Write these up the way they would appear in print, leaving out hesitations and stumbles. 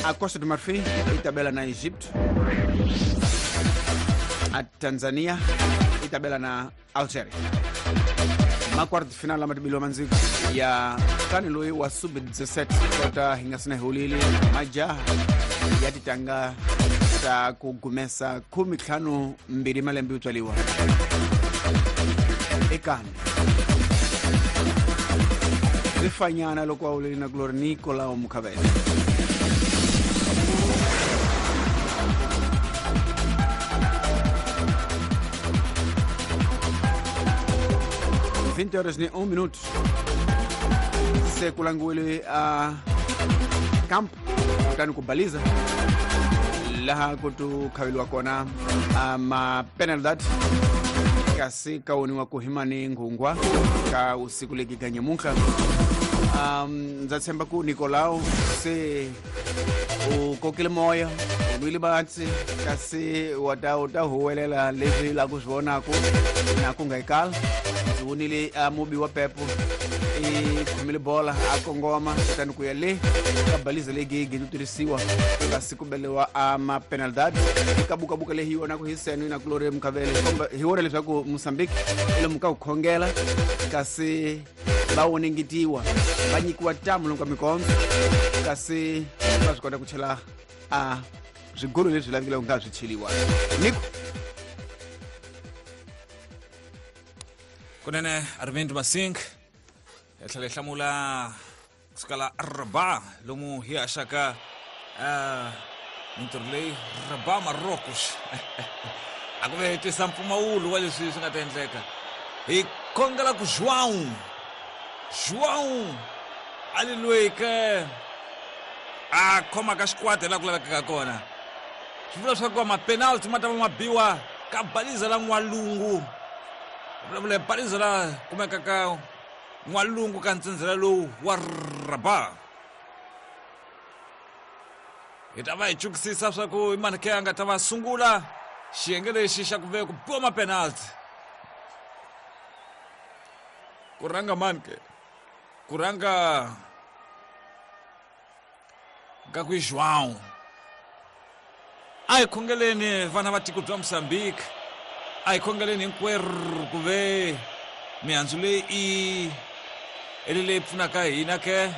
A Costa do Marfim yi ta bela na Egypt, a Tanzania yi ta bela na Algeria. Ma-quarter final lama tibiliwa mandziko ya kani loyi wa sub 17 kota hi nga sina hi majaha ya titanga ta ku gumesa 52 malembe yo tswaliwa ekani swi fanyana loko a wuleli na kulori Nicolao Mukhavele. 20 horas ni 1 minuto se ku langiwile a camp kutani ku baliza laha ku tu khaveliwa kona a ma-penalidad kasi ka woniwa ku himani nghungwa ka usiku legi ka nyamuntlha. Ndza tshemba ku Nicolao se u kokile moya, u nwile batsi, kasi wa ta u ta huwelela leswi la ku swi vonaku na ku nga ikala. Ndzi vonile a mubi wa pepo i khomile bola a kongoma kutani ku ya le ka baliza leyi gi tirhisiwa kasi ku beliwa a ma-penalidad eka bukabuka leyi hi vonaku hi seno na kulori Mukhavele komba hi vona leswaku Mozambique i lomu ka ku khongela kasi va wonengetiwa va nyikiwa tamu lomu ka mikondzo kasi va swi kota ku chela a swigolo leswi lavekile ku nga swi cheliwa niko. Kunene Arvind Masing hi tlhela hi hlamula kusukela Rabat lomu hi haxaka mintirho leyi Rabat Marocos a ku ve hi twisa mpfumawulo wa leswi swi nga ta endleka. Hi khongela ku João João a li loyi ke a khomaka xikwata hi laha ku lavekaka kona. Swi vula leswaku ma-penalty ma ta va ma biwa ka baliza la n'walungu, vulavula hi baliza la kumekaka n'walungu ka ntsindzela lowu wa Rabat. Hi ta va hi chukisisa swa ku i mani ke a nga ta va sungula xiyenge lexi xa ku ve ku biwa ma-penalty. Ku rhanga mani ke? Ku rhanga ka ku João. A hi khongeleni vana va tiko bya Mozambique, a hi khongeleni hinkwerhu ku ve mihandzu leyi i eli leyi pfunaka hina ke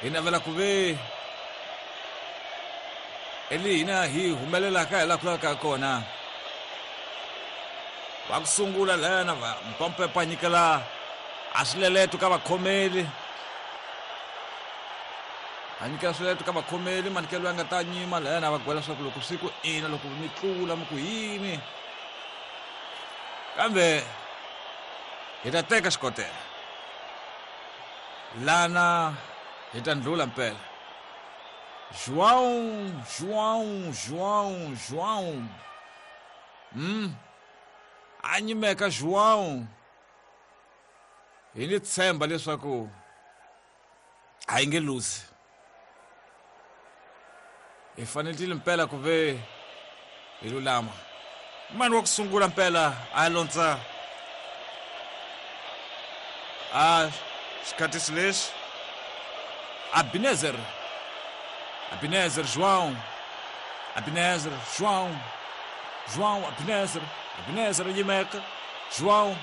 hi navela ku ve eli hina hi humelelaka hi laha ku lavekaka kona. Va ku sungula layana va mpampepa nyikela a swileleto ka vakhomeli, a nyikela swileleto ka vakhomeli manikelo ya nga ta nyima layana va gwela swa ku loko swi ku ina loko mi tlula mi ku yini, kambe hi ta teka xikotela lana hi ta ndlula mpela. João João João João a nyimeka João. Hi ni tshemba leswaku a yi nge luzi, hi fanelile mpela ku ve hi lulama. Mani wa ku sungula mpela a lontsa a xikhatisi lexi Abinezer, Abinezer João, Abinezer João, João Abinezer, Abinezer nyimeka João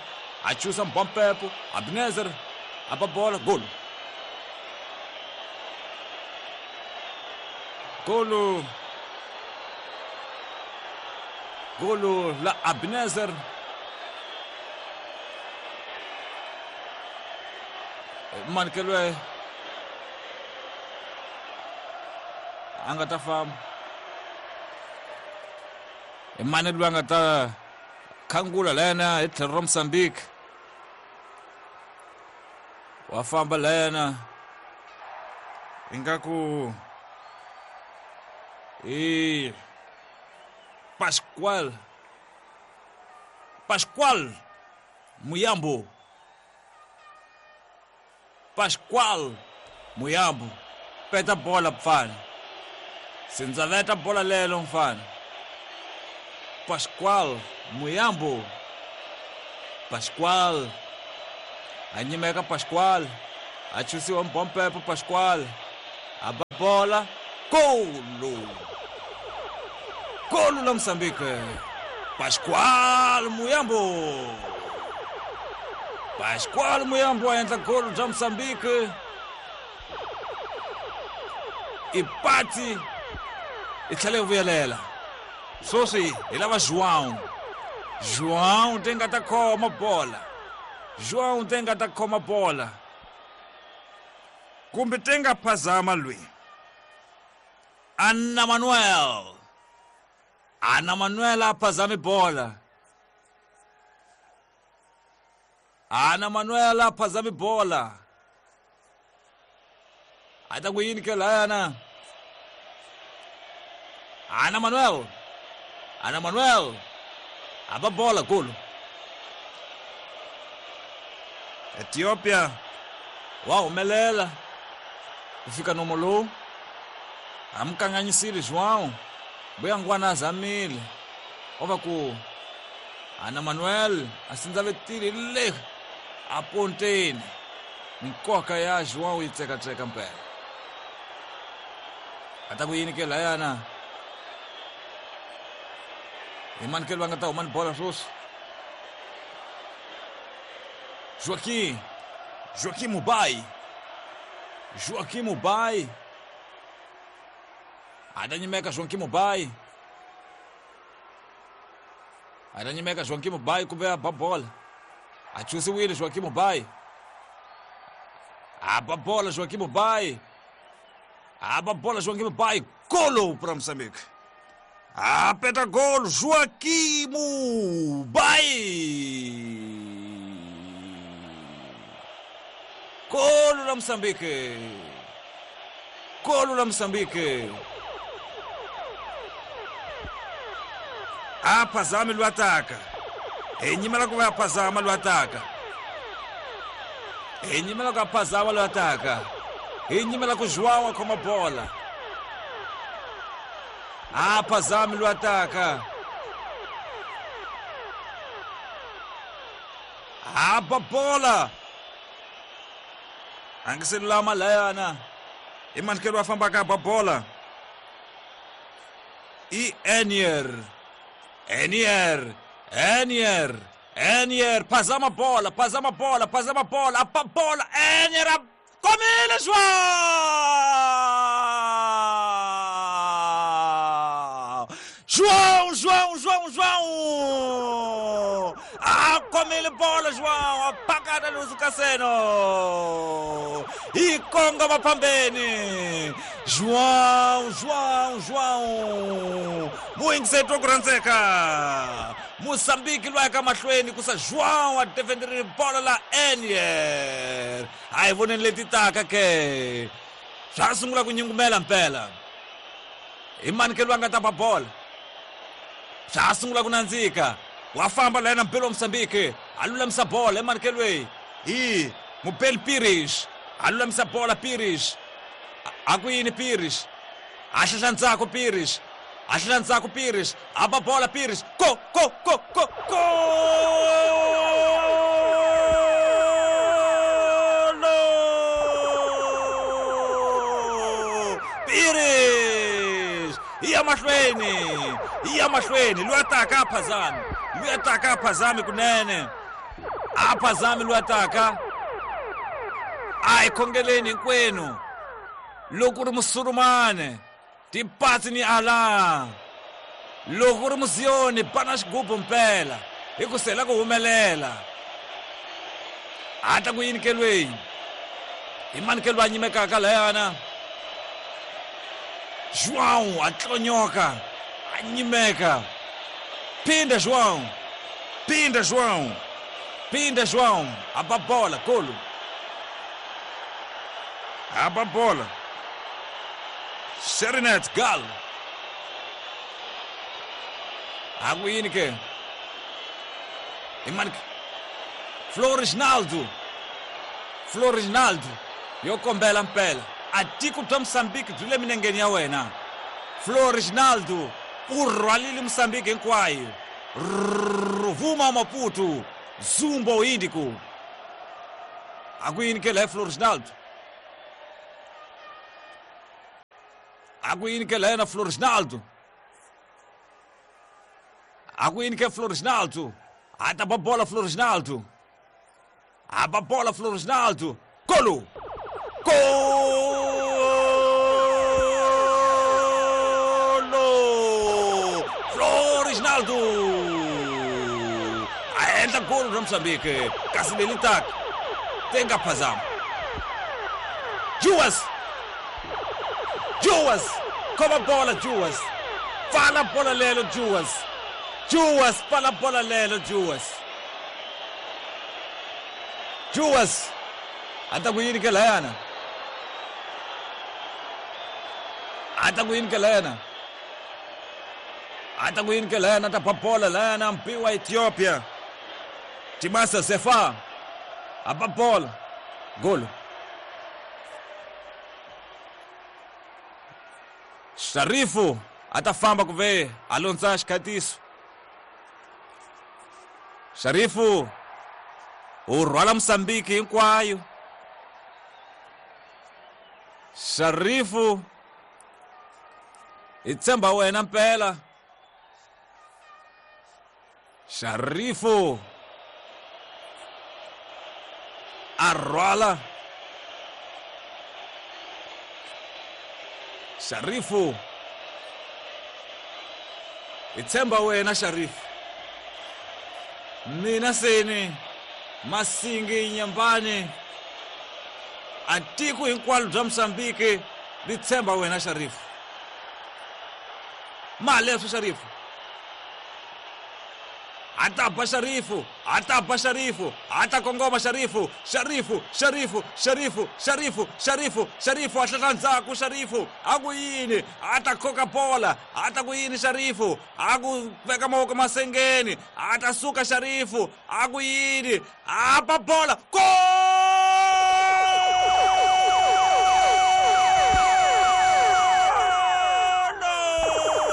a chusa mbompepo Abinezer a ba bola golo golo golo la Abinezer. Manikelwe a nga ta famba i mani loyi a nga ta khangula layana hi tlhelo ra Mozambique wa famba layana ingaku i Pascual, Pascual Muyambo, Pascual Muyambo peta bola mfana, sindzaveta bola lelo mfana. Pascual Muyambo, Pascual a nyimeka Pascual a chusiwa mbompepo Pascual a ba bola Golo! Golo la Moçambique! Pascoal Muyambo! Pascoal Muyambo a endla golo bya Moçambique. I pati i tlhela yi vuyelela. Sweswi hi lava João. João te nga ta khoma bola. João te nga ta khoma bola. Kumbe te nga phazama lweyi. Anna Manuel. Anna Manuel a phazami bola. Ana Manuel a phazami bola. A ta ku yini ke layana? Ana Manuel. Ana Manuel. A ba bola golo. Ethiopia wa humelela ku fika nomo lowu. A mi kanganyisile João. Buya ngwana a zamile. O va ku Ana Manuel a sindzavetile le a ponteni. Minkoka ya João yi tsekatseka mpela. A ta ku yini ke layana? Hi mani ke va nga ta huma ni bola sweswi? Joaquim. Joaquim Mubai. Joaquim Mubai. A ta nyimeka Joaquim Mubai. A ta nyimeka Joaquim Mubai kumbe a ba bola. A chusiwile Joaquim Mubai. A ba bola Joaquim Mubai. A ba bola Joaquim Mubai. Golo para Moçambique. A peta golo Joaquim Mubai. Golo la Moçambique. Golo la Moçambique. A phazama lwataka. Hi nyimela ku va phazama lwataka. Hi nyimela ku phazama lwataka. Hi nyimela ku João a khoma bola. A phazama lwataka. A ba bola. A ngi se lulama layana. I manikelo a fambaka ba bola. I Enier. Enier, Enier, Enier, phazama bola, phazama bola, phazama bola, a bola, Enier, a komile João! João, João, João, João! A komile bola, João, a pakata luzukaseno! E konga mapambeni! João, João, João! Muyingisetwa ku rhandzeka. Moçambique lwa ka mahlweni ku sa João a defenderile bola la Enier. A hi voneni leti taka ke. Swa sungula ku nyungumela mpela. Hi mani ke lwa nga ta ba bola. Swa sungula ku nandzika. Wa famba la yena Mpelo wa Moçambique. A lulamisa bola hi mani ke lweyi. Hi Mubeli Pires. A lulamisa bola Pires. A ku yini Pires? A hlahla ntsako Pires. A hlahla ntsako Pires. A ba bola Pires. Go go go go go! Pires! Yi ya mahlweni. Yi ya mahlweni. Lwa taka a phazami. Lwa taka a phazami kunene. A phazami lwa taka. A hi khongeleni hinkwenu. Loko u ri musulumane, tipatsi ni Allah. Loko u ri muziyoni, bana xigubu mpela, hi ku sela ku humelela. A ta ku yini ke lweyi? Hi mani ke lwa nyimekaka layana? João a tlonyoka, a nyimeka. Phinda João. Phinda João. Phinda João. A ba bola, golo. A ba bola. Serinet Gal. A ku yini ke? I mani ke? Florisnaldo. Florisnaldo. Yo kombela mpela. A tiko bya Moçambique byi le minengeni ya wena. Florisnaldo u rhwalile Moçambique hinkwayo. Ruvuma Maputo, Zumbo Índico. A ku yini ke la Florisnaldo? A ku yini ke layena Floresnaldo? A ku yini ke Floresnaldo? A ta ba bola Floresnaldo. A ba bola Floresnaldo. Golo! Golo! Floresnaldo! A endla golo ra Mozambique kasi leli taka tenga phazama. Juas! Juas! Khoma bola Juas! Pfala bola lelo Juas! Juas pfala bola lelo Juas! Juas! A ta ku yini ke layana? A ta ku yini ke layana? A ta ku yini ke layana? Ta ba bola layana mpi wa Ethiopia. Timasa Zefa. A ba bola. Golo. Sharifu a ta famba ku ve a londza xikhatiso. Sharifu u rhwala Mozambique hinkwayo. Sharifu hi tshemba wena mpela. Sharifu a rhwala. Sharifu hi tshemba wena Sharifu. Mina seni Masingi Nyambani a tiko hinkwalo bya Mozambique ri tshemba wena Sharifu. Maleswo Sharifu. A ta ba Sharifu, a ta ba Sharifu, a ta kongoma Sharifu, Sharifu, Sharifu, Sharifu, Sharifu, Sharifu, Sharifu a hlehla ndzhaku Sharifu, a ku yini, a ta koka bola, a ta ku yini Sharifu, a ku veka mavoko masengeni, a ta suka Sharifu, a ku yini, a ba bola, gol!